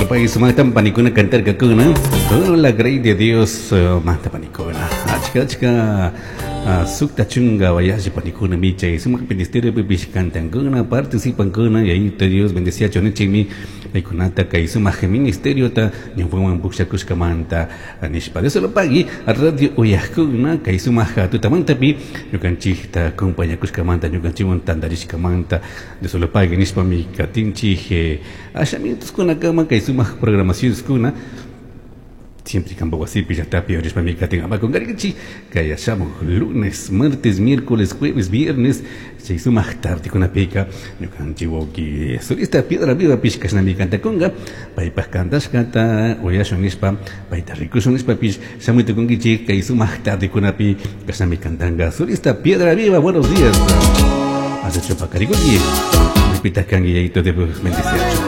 Dios lo pague sumaqtan panikuna cantarkakuna. Con la grey de Dios manta panikuna. Achka achka sukta chunga wayashi panikuna michay sumaq ministerio pipish cantankuna participankuna yayito Dios bendeciacho nichikmi paykunata kay sumaq ministeriota ñawpaman pukshakushkamanta nishpa. Dios lo pague radio uyaqkuna kay sumaq tutamantapi ñukanchikta acompañakushkamanta ñukanchikwan tantarishkamanta Dios lo pague nishpami katinchik asha minutoskunakama kay sumaq programacioneskuna siempre kampa wasipi llaqtapi orishpami katin apakunqarikichik kay shamuq lunes, martes, miércoles, jueves, viernes chay sumaq tardekunapika ñukanchik wawqi solista Piedra Vivapish kashnami cantakunqa paypaq cantashkata uyashun nishpa payta rikushun nishpapish shamuy tukunkichik kay sumaq tardekunapi kashnami cantanqa solista Piedra Viva. Buenos días, achachu paqarikunki, maypitaq kanki? Yayito Dios bendeciachu.